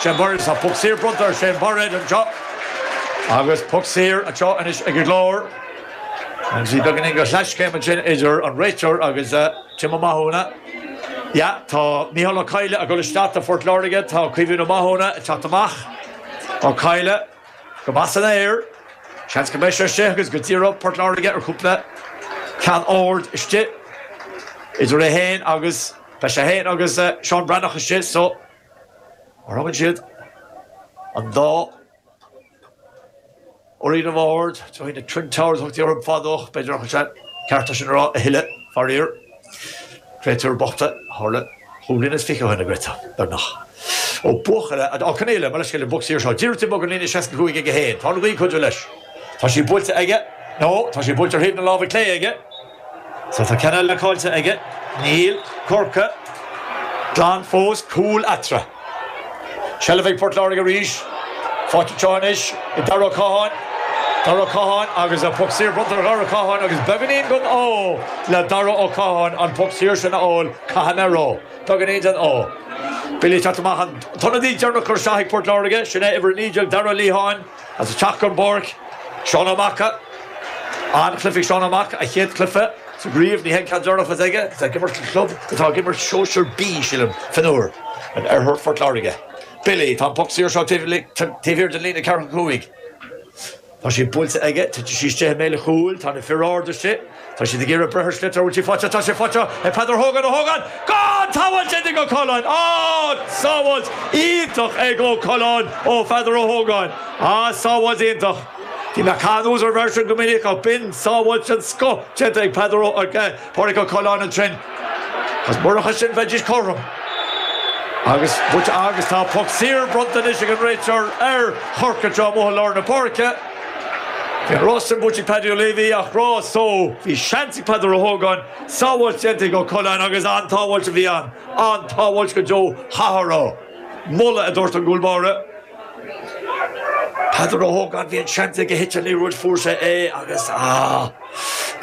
Shane Bairéad, tá poc saor bronnta ar Shane Bairéad anseo agus poc saor anseo anois ag an gClár. Agus bhí beagáinín de chleaschéim ansin idir an réiteoir agus Tim Ó Mathúna. Yeah, tá Micheál Ó Cadhla ag dul isteach do Phort Láirge, tá Caoimhín Ó Mathúna ag teacht amach. Ó Cadhla go maith san aer. Seans go mbeidh sé istigh agus go d'iarrfadh Port Láirge ar chúpla ceann ard istigh idir é féin agus, beidh sé féin agus Seán Breathnach istigh so mar thugann siad an dá fhoireann ard, trína na Twin Towers a thugtaí orthu fadó ach b'fhéidir nach bhfuil sé ceart é sin a rá a thuilleadh, faraor. Créatúir bochta, tharla chúig bliana is fiche ó shin, a Greta, beagnach. Ó buachaill, Ó Conaola, mo leithscéal, an bpoc saor seo, díreach taobh amuigh den líne 65 aige féin. Tá an ghaoth ag cuidiú leis. Tá sí buailte aige, nó tá sí buailte ar thaobh na láimhe clé aige. So tá ceann eile caillte aige. Níl Corcaigh glan fós, cúl eatarthu. Seilbh ag Port Láirge arís. Faighte anseo anois ag Dara Ó Catháin. Dara Ó Catháin agus an poc saor bronnta ar Dhara Ó Catháin agus beagáinín den ádh le Dara Ó Catháin an poc saor sin a fháil, caithfidh mé a rá. Beagáinín den ádh. Billy ag teacht amach an t-ionadaí deireanach curtha isteach ag Port Láirge, sin é uimhir 19 Dara Ó Liatháin. As ag teacht den bpáirc, Seán Ó Maca. An-chluiche ag Seán Ó Maca, a chéad chluiche sa gcraobh. Ní hé an ceann deireanach a bheas aige. Tá ag imirt le club atá ag imirt Sóisear B, sílim, fionnuar, in oirthear Phort Láirge. Billy, tá an poc saor seo taobh thiar den líne ceathracha cúig. Tá sí buailte aige, titfidh sí istigh i mbéal an chúil, tá na fir arda istigh, tá siad ag iarraidh breith ar sliotar, an bhfuil sí faighte, tá sé faighte ag Peadar Hogan, Ó hÓgáin, gan tsábháilt ag Ó Coileáin, á, sábháilt iontach ag Ó Coileáin ó Pheadar Ó hÓgáin, á, sábháilt iontach. Bhí mé ag caitheamh anuas ar an bhfear sin go minic ach b'in sábháilt den scoth déanta ag Peadar Ó, ag Pádraig Ó Coileáin ansin. Agus murach é sin bheidís cothrom. Agus buailte agus tá poc saor bronnta anois ag an réiteoir ar Chorcaigh anseo amuigh i lár na páirce. Bhí an rás sin buaite ag Paddy O'Leavy ach rás so bhí seans ag Peadar Ó hÓgáin, sábháilt déanta ag Ó Coileáin agus an-tsábháilt a bhí ann, an-tsábháilt go deo chaithfeá a rá. Moladh a dúirt an gcúl báire. Peadar Ó hÓgáin, bhí an seans aige thit an liathróid, fuair sé é agus ah,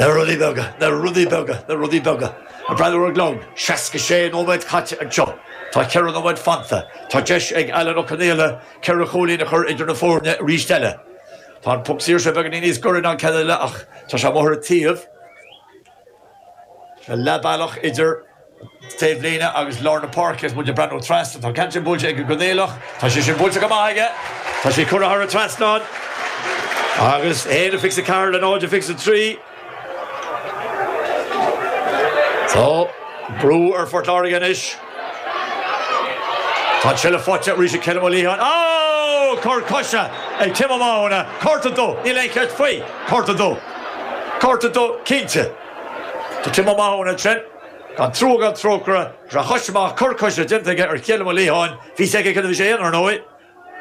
na rudaí beaga, na rudaí beaga, na rudaí beaga. Ag breathnú ar an gclog, 66 nóiméad caite anseo. Tá ceithre nóiméad fanta. Tá deis ag Alan Ó Conaola ceithre chúilín a chur idir na foirne arís eile. Tá an poc saor seo beagáinín níos gaire ná an ceann eile ach tá sé amuigh ar an taobh. Tá leath bealach idir taobhlíne agus lár na páirce is muid ag breathnú trasna. Tá an ceann sin buailte ag an gConaolach. Tá sé sin buailte go maith aige. Tá sé curtha thar an trasnán. Agus 1-24 le 0-23. Tá brú ar Phort Láirge anois. Tá an tseilbh faighte arís ag Cillian Ó Liatháin. Ó! Cor coise ag Tim Ó Mathúna. Cárta dubh. Níl aon cheist faoi. Cárta dubh. Cárta dubh cinnte. Do Tim Ó Mathúna ansin. Gan trua gan trócaire. Tá a chois amach. Cor coise déanta aige ar Chéilim Ó Liatháin. Bhí a fhios aige cad a bhí sé a dhéanamh, ar ndóigh.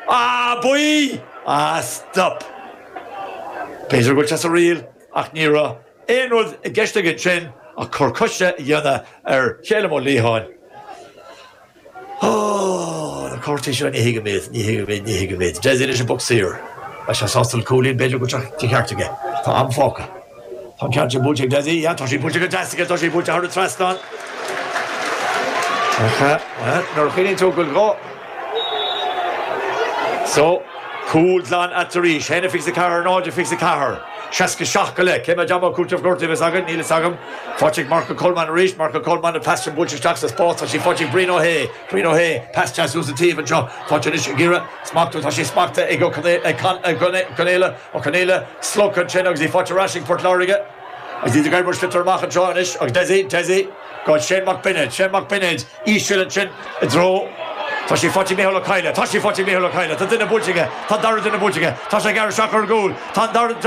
Ah, buí! Ah, stop! B'fhéidir go bhfuil sé sa riail ach ní raibh aon rud i gceist aige ansin ach cor coise a dhéanamh ar Chéilim Ó Liatháin. Ó, na cártaí seo, ní thuigim iad, ní thuigim iad, ní thuigim iad. Dessie leis an bpoc saor. Beidh sé sásta le cúilín, b'fhéidir go bhfuil sé de cheart aige. Tá am fágtha. Tá an ceann sin buailte ag Dessie, yeah, tá sí buailte go deas aige, tá sí buailte thar an trasnán. Ach, nuair a chuimhníonn tú go bhfuil go. So, cúl glan eatarthu arís, 1-24, 0-24, 67 go leith. Cé mhéad am cúitimh gortaithe a bheas againn? Níl fhios agam. Faighte ag Marco Coleman arís, Marco Coleman, an pas sin buailte isteach sa spás, tá sí faighte ag Brian Ó hAodha, Brian Ó hAodha, pas deas suas an taobh anseo, faighte anois ag iarraidh smachtú, tá sí smachtaithe ag Ó Conaola, Ó Conaola, slogtha ansin agus í faighte ar ais ag Port Láirge agus iad ag oibriú sliotar amach anseo anois agus Dessie, Dessie go Shane Mac Bionaid, Shane Mac Bionaid, íseal ansin i dtreo, tá sí faighte ag Micheál Ó Cadhla, tá sí faighte ag Micheál Ó Cadhla, tá duine buailte aige, tá an dara duine buailte aige, tá sé ag gearradh isteach ar an gcúl, tá an dara.